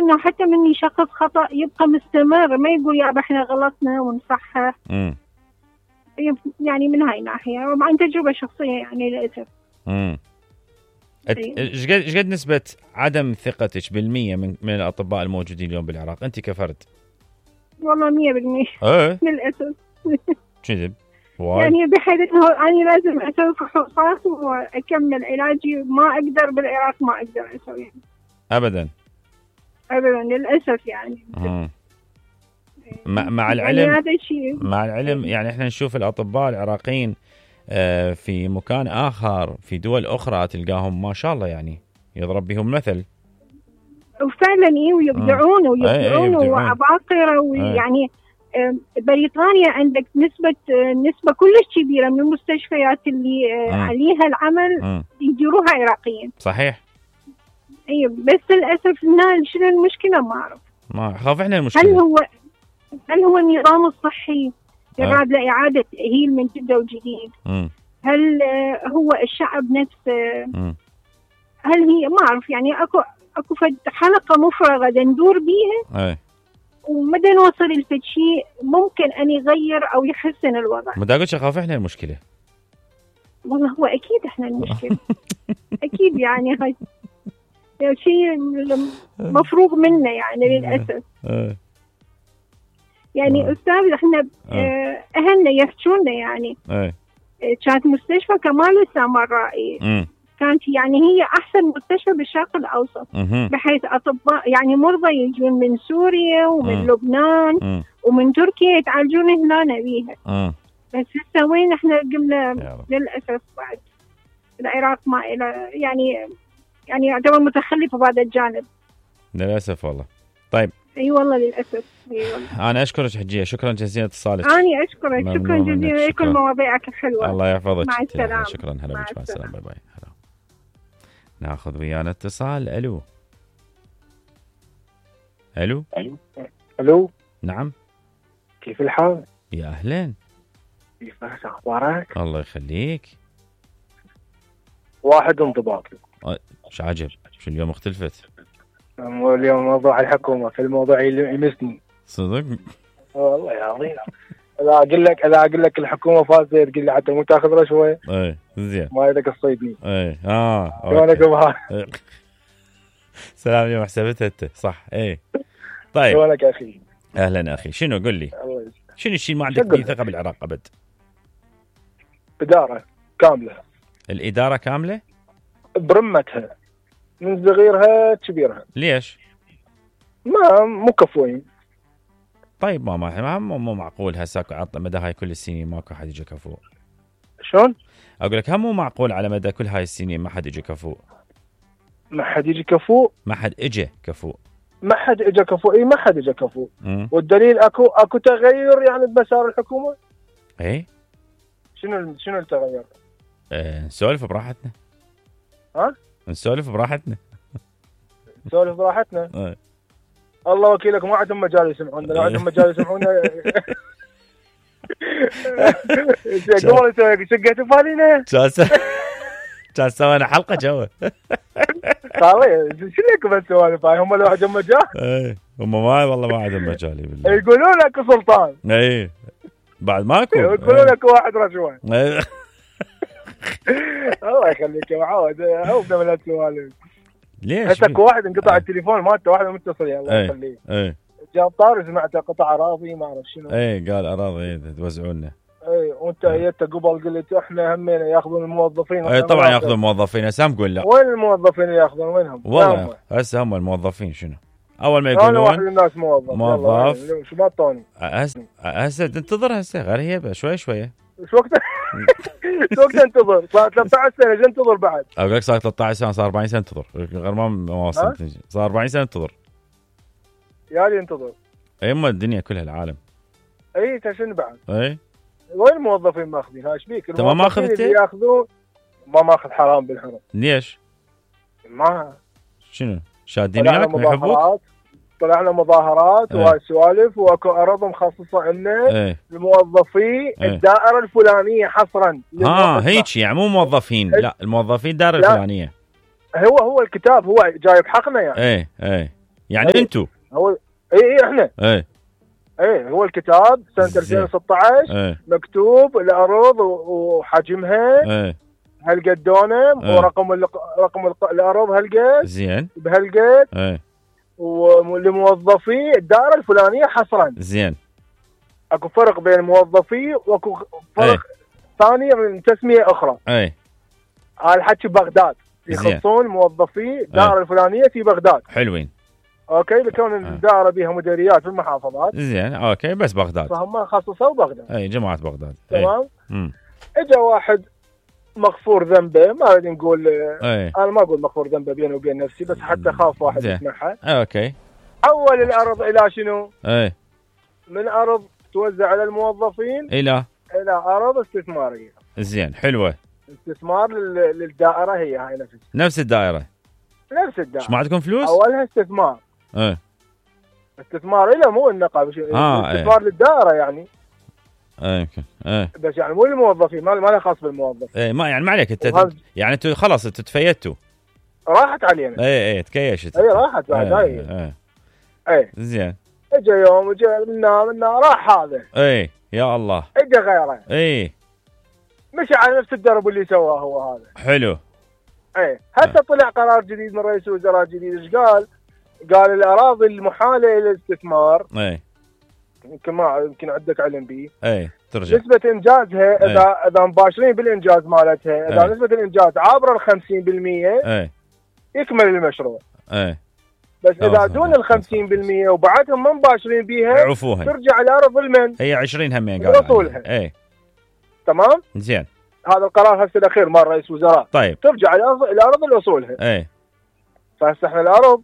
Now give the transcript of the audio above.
انه حتى من يشخص خطأ يبقى مستمر، ما يقول يا احنا غلطنا ونصحح. يعني من هاي الناحية عن تجربة شخصية يعني للأسف. ايش قد نسبة عدم ثقتك بالمية من الأطباء الموجودين اليوم بالعراق أنت كفرد؟ والله 100% للأسف. كذب يعني بحيث انه انا لازم اسوي فحوصات واكمل علاجي، ما اقدر بالعراق ما اقدر اسوي ابدا للاسف يعني. مع العلم يعني هذا الشيء مع العلم يعني احنا نشوف الاطباء العراقيين في مكان اخر في دول اخرى تلقاهم ما شاء الله يعني يضرب بهم مثل، وفعلا ويبدعون وعباقرة ويعني بريطانيا عندك نسبة كلش كبيرة من المستشفيات اللي عليها العمل يديروها عراقيين. صحيح. ايوه بس للأسف شنو المشكلة ما أعرف. ما خاف احنا المشكلة. هل هو النظام الصحي يراد لإعادة تأهيل من جدة وجديد؟ هل هو الشعب نفسه؟ هل هي ما أعرف يعني أكو حلقة مفرغة ندور بيها ومدى نوصل لفد شيء ممكن أن يغير أو يحسن الوضع. ما دا قلت خاف احنا المشكلة. والله هو أكيد احنا المشكلة. أكيد يعني هاي شيء مفروغ منه يعني للأسف. يعني أستاذ احنا أهلنا يحكونا يعني كانت مستشفى كمال السامرائي كانت يعني هي أحسن مستشفى بالشرق الأوسط، بحيث أطباء يعني مرضى يجون من سوريا ومن لبنان ومن تركيا يتعالجون هنا بيها. بس هسه وين احنا قمنا للأسف بعد العراق ما إلى يعني يعتبر متخلف بهذا الجانب للأسف والله. طيب اي والله للأسف. والله. أنا أشكرك حجية، شكرا جزيلا اتصالك. أنا أشكرك شكرا جزيلا لكل مواضيعك الحلوة. الله يحفظك. مع السلامة. شكرا هلا بك. مع السلامة. باي باي. هلا. ناخذ ويانا اتصال. الو. نعم. كيف الحال؟ يا أهلين. كيف أخبارك؟ الله يخليك. واحد انضباط. مش عجب شو اليوم اختلفت؟ اليوم موضوع الحكومة في الموضوع اللي يمسني صدق والله يا عظيم. اذا اقول لك الحكومه فازت تقول لي حتى مو تاخذ رشوه. زين ما يدك الصيدني. شلونك سلام اليوم حسبتها انت صح. طيب شلونك يا اخي؟ اهلا اخي. شنو قل لي شنو الشيء ما عندك فيه ثقه بالعراق ابد؟ اداره كامله. الاداره كامله برمتها من صغيرها كبيرها. ليش؟ مو كفوين. طيب ما مو معقول هسه عطى مدى هاي كل السنين ماكو حد يجي كفو. شلون؟ اقول لك هم مو معقول على مدى كل هاي السنين ما حد يجي كفو. ما حد يجي كفو. ما حد اجى كفو. ما حد اجى كفو. اي ما حد اجى كفو. والدليل اكو تغير يعني بمسار الحكومه. شنو التغير؟ نسولف براحتنا. نسولف براحتنا. نسولف براحتنا. الله وكيلك ما عندهم مجال يسمعونا. لا عندهم مجال يسمعونا. قبل سقيت فالينا كان سوينا حلقه جوا. شنو لكم السوالف هاي؟ هم لو عندهم مجال. هم ما والله ما عندهم مجال بالله. يقولون لك سلطان. بعد ماكو. يقولون لك واحد رشوه. الله يخليك يا معود. عوفنا من هالسوالف. ليش؟ هسه واحد انقطع التليفون مالته واحد متصل يا الله يخليه. جاب طار سمعته قطع اراضي ما اعرف شنو. قال اراضي توزعونا. وانت جيت قبل قلت احنا همينا ياخذون الموظفين. طبعا ياخذون الموظفين. هسه نقول لا. وين الموظفين ياخذون؟ وينهم؟ والله هسه هم الموظفين شنو؟ اول ما يقولون انا واحد من الناس موظف شو ما طوني. هسه تنتظر هسه غريبه شوي شوي. شو وقت انتظر؟ صار 13 سنه جا انتظر بعد. اقول لك صار 13 سنه صار 40 سنه انتظر غير ما وصلت. صار 40 سنه انتظر يا لي انتظر. اما الدنيا كلها العالم. شنو بعد؟ وين الموظفين ماخذين؟ هاي شبيك؟ انت ما اخذت؟ ياخذون ما ماخذ حرام بالحرام. ليش؟ ما شنو شادين وياك يحبوك؟ طلعنا مظاهرات وهاي السوالف واكو ارض مخصصه لنا الموظفي الدائره الفلانيه حصرا. هيك يعني مو موظفين. لا الموظفين الدائره الفلانيه. هو الكتاب هو جايب حقنا يعني. يعني انتم هو احنا هو الكتاب سنه 2016 مكتوب الارض وحجمها هالقد دونم ورقم الارض هالقد زين بهالقد ولموظفي الدائره الفلانيه حصرا. زين. اكو فرق بين موظفي واكو فرق ثاني من تسميه اخرى. هذا الحكي بغداد يخصون موظفي الدائره الفلانيه في بغداد. حلوين. اوكي لكون الدائره بها مديريات في المحافظات. زين اوكي بس بغداد فهم خصصوا بغداد. جماعه بغداد. تمام. اجا واحد مغفور ذنبه، ما اريد نقول انا ما اقول مغفور ذنبه بيني وبين نفسي، بس حتى خاف واحد يسمعها. اوكي. حول الارض الى شنو؟ من ارض توزع على الموظفين الى ارض استثماريه. زين حلوه. استثمار للدائره، هاي نفس الدائره. ايش ما عندكم فلوس؟ اولها استثمار. استثمار له مو النقابه، استثمار للدائره يعني. يمكن بس يعني مو للموظفين، ما له خاص بالموظف. ما يعني ما عليك انت يعني انتوا خلاص انتوا تفيتوا. راحت علينا. تكيشت. راحت بعد. زين. اجى يوم منا راح هذا. يا الله. اجى غيره. مشى على نفس الدرب اللي سواه هو هذا. حلو. حتى طلع قرار جديد من رئيس الوزراء جديد. ايش قال؟ قال الاراضي المحاله الى الاستثمار يمكن عندك علم به. ترجع نسبه انجازها اذا مباشرين بالانجاز مالتها، اذا نسبه الانجاز عابره ال 50% يكمل المشروع. بس اذا دون ال 50% وبعدهم ما مباشرين بيها عفوها ترجع الارض لمن؟ هي 20 همين قال اصولها. تمام. زين. هذا القرار هسه الاخير مال رئيس وزراء. طيب. ترجع الارض لاصولها. فهسه احنا الارض